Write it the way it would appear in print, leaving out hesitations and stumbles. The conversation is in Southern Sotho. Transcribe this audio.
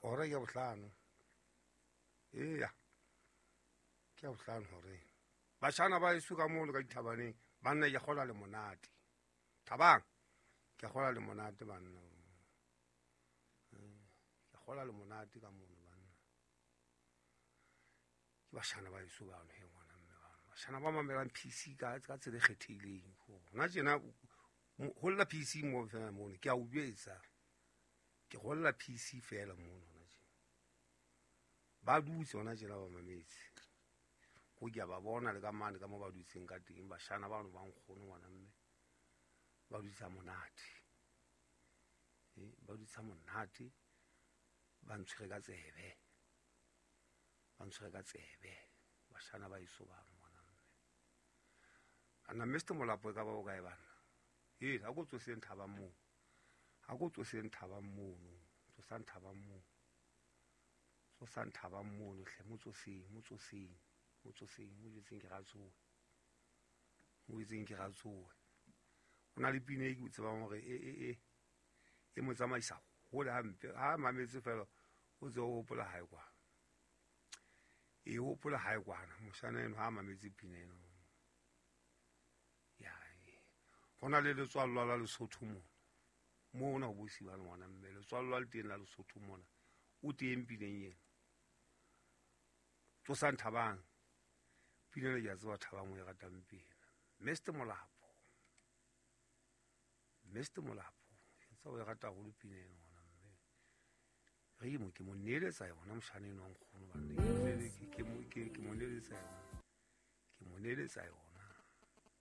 Hora ke ya bohlano. Eya, ke ya bohlano horeng. Bashana ba heso ka mono ka dithabaneng, banna ke kgola le monate. Thabang, ke kgola le monate banna. Ke kgola le monate ka mono banna. Ke bashana ba heso bano he ngwana mme bano. Bashana ba mamelang PC ka tsela e kgethehileng. Hona tjena ho lla PC mo fela mono, ke a o jwetsa. Ke golla PC fela mono hona tjena. Ba dutse hona tjena ba mametse. Ko ke a ba bona le ka mane ka mo ba dutseng ka teng, bashana bano ba nkgono ngwana mme. Ba dutse monate. Ba dutse monate. Ba ntshwere ka tsebe. Ba ntshwere ka tsebe. Bashana ba eso bano ngwana mme. Ana Mr. Molapo e ka ba o kae bana? Ha ko tsoseng Thabang moo. Ha ko tsoseng Thabang mono. Tsosang Thabang moo. Tsosang Thabang mono hle, mo tsoseng, mo tsoseng. Mo tsoseng, mo jwetseng ke ratsoe. Mo jwetseng ke ratsoe. O na le pina e ke o tsebang hore e mo tsamaisa hole hampe. Ha mametse fela, o tse o hopola hae kwana. E hopola hae kwana. Moshana eno ha mametse pina eno. Ya, ho na le letswallo la Lesotho mona. Mona ho bosiwa ngwana mme, letswallo le teng la Lesotho mona. O teng pineng ena. Tsosang Thabang. Pina le ke a tseba Thabang o e ratang pina. Mr. Molapo. Mr. Molapo. Ke tseba o e rata haholo pina ena ngwana mme. Re mo ke mo neeletsa yona moshana eno wa nkgono banna. Ke mo neeletsa yona. Ke mo neeletsa yona.